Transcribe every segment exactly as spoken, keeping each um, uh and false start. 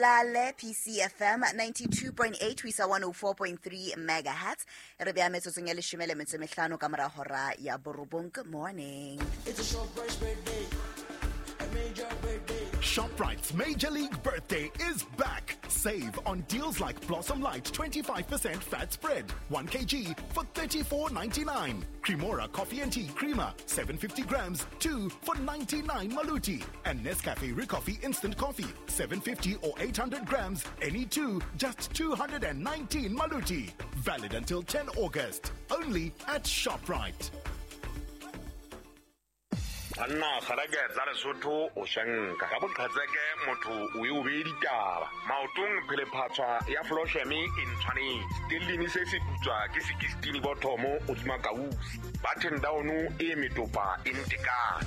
Mpolale P C F M ninety-two point eight ho isa one oh four point three megahertz. Re beha metsotsong ya leshome le metso e mehlano ka mora hora ya borobong. Good morning. It's a ShopRite's birthday. A major birthday. ShopRite's Major League Birthday is back. Save on deals like Blossom Light twenty-five percent fat spread, one kilogram for thirty-four ninety-nine. Cremora Coffee and Tea Creamer, seven fifty grams, two for ninety-nine Maluti. And Nescafe Recoffee Instant Coffee, seven fifty or eight hundred grams, any two, just two hundred nineteen Maluti. Valid until ten August. Only at ShopRite. Banna kgarake tsa Lesotho o shanka ka boqhetseke motho o e o be ditaba maotong phelephatswa ya Flosheme e ntshwanetse tellini se se putswa ke sixteen bothomo o tsuma kausi button down e metopa e ntekane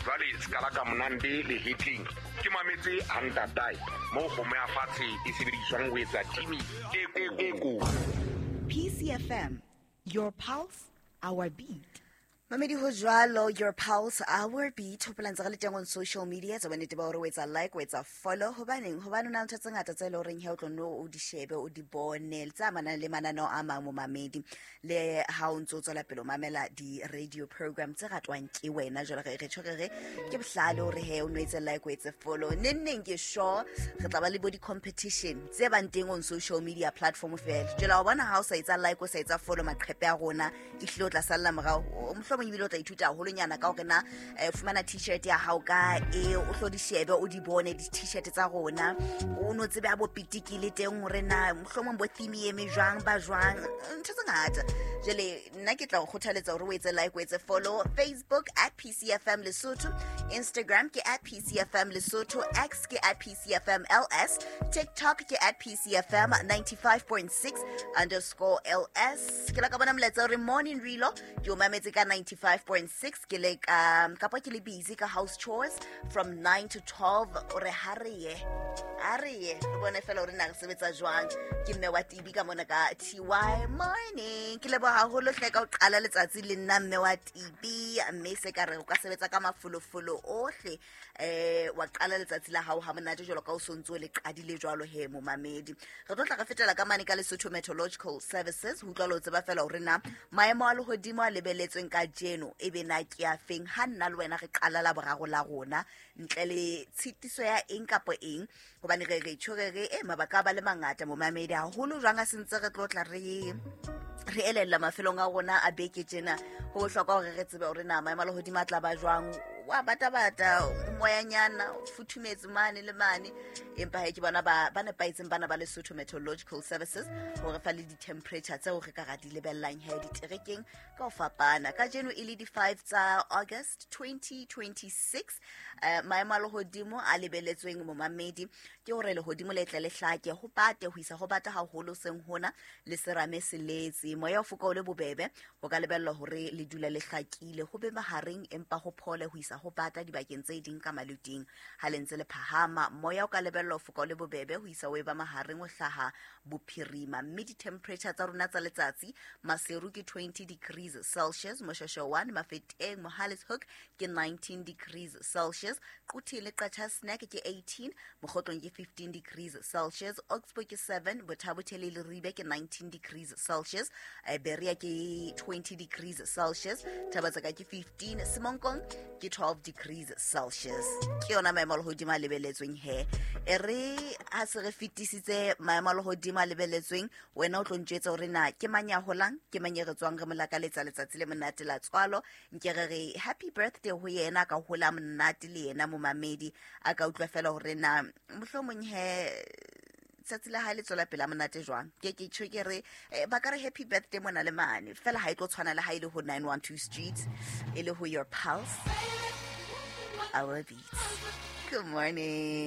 jwale skala ka monande le hitling ke mametse hantatai mo kgomo ya fatshe e sebediswang ho etsa timi e e ko P C F M, your pulse, our beat. Mamedi ho jwalo, your pulse, our beat. Hopola ntse re le teng on social media, tsa bonnete ba hore o etsa like, o etsa follow. Hobaneng? Hobane o na le ntho tse ngata tse e leng horeng he o tlo no o di shebe, o di bone, tse amanang le mananeo a mang mo mamedi. Le ha o ntso tswela pele o mamela di-radio program tse ratwang ke wena. Jwale re re tjho re re ke bohlale hore he o no etse like, o etse follow. Neng neng ke sure re tla ba le bo di-competition tse bang teng on social media platform fela. Jwale wa bona ha o sa etsa like, o sa etsa follow maqhepe a rona, ehlile o tla salla morao. Mohlomong ebile o tla ithuta haholonyana ka hore na fumana t-shirt ya hao ka e o hlo di shebe o di bone di-t-shirt tsa rona o no tsebe a bo pitiki le teng hore na mohlomong bo theme e eme jwang ba jwang ntho tse ngata. Jwale nna ke tla o kgothaletsa hore o etse like, o etse follow. Facebook at P C F M Lesotho, Instagram ke at P C F M Lesotho, X ke at P C F M L S, TikTok ke at P C F M ninety-five point six underscore L S. Ke la ka bona molaetsa hore morning Rilo ke o mametse ka ninety-five point six ke le ka kapa ke le busy ka house chores from nine to twelve. O re ha re ye ha re ye re bone fela hore na re sebetsa jwang. Ke mme wa T B ka mona ka T Y morning. Ke leboha haholo hle ka ho qala letsatsi le nna mme wa T B, mme se ka re o ka sebetsa ka mafolofolo ohle eh wa qala letsatsi la hao ha monate jwalo ka o sontso le qadile jwalo he momamedi. Re tlo tla re fetela ka mane ka Lesotho Meteorological Services ho utlwa lo tseba fela hore na maemo a lehodimo a lebeletsweng ka jeno e be na ke a feng ha nna le wena re qala la boraro la rona ntle le tshitiso ya eng kapa eng, hobane re re tjho re re e mabaka ba le mangata momamedi haholo jwang a sentse re tlo tla re re elella mafelong a rona a beke tjena. Ho bohlokwa hore re tsebe hore na maemo a lehodimo a tla ba jwang, wa bata bata moyanyana o futhumetse mane le mane, empa he ke bona ba ba nepahetseng bana ba Lesotho Meteorological Services hore fa le di-temperature tseo re ka ra di lebellang he diterekeng ka ho fapana. Kajeno e le di-five tsa August twenty twenty-six. Eh, maemo a lehodimo a lebeletsweng momamedi ke hore lehodimo le tle le hlake ho bate ho isa ho bata haholo seng hona le serame se letse moya o foka o le bobebe ho ka lebellwa hore le dula le hlakile ho be mahareng empa ho phole ho isa ho bata dibakeng tse ding ka maluting. Ha le ntse le phahama moya o ka lebellwa ho foka o le bobebe ho isa o eba mahareng o hlaha bophirima, mme di-temperature tsa rona tsa letsatsi Maseru ke twenty degrees Celsius, Moshasha one, Mafeteng, Mohale's Hoek ke nineteen degrees Celsius, Quthing le Qacha's Nek ke eighteen, Mokhotlong ke fifteen degrees Celsius, Oxbow ke seven, Botha-Bothe le Leribe ke nineteen degrees Celsius, Berea ke twenty degrees Celsius, Thabatsaka ke fifteen, Semonkong ke twelve degrees Celsius. Ke yona maemo a lehodimo a lebeletsweng he. E re ha se re fetisitse maemo a lehodimo a lebeletsweng, wena o tlo ntjwetsa hore na ke mang ya holang, ke mang e re tswang re mo lakaletsa letsatsi le monate la tswalo. Nke re re happy birthday ho yena, ka hola monate le yena momamedi a ka utlwa fela hore na mohlomong he tsatsi la hae le tswela pele a monate jwang. Ke ke tjho ke re ba ka re happy birthday mona le mane fela ha e tlo tshwana le ha e le ho nine one two Street e le ho your pulse, our beat. Good morning.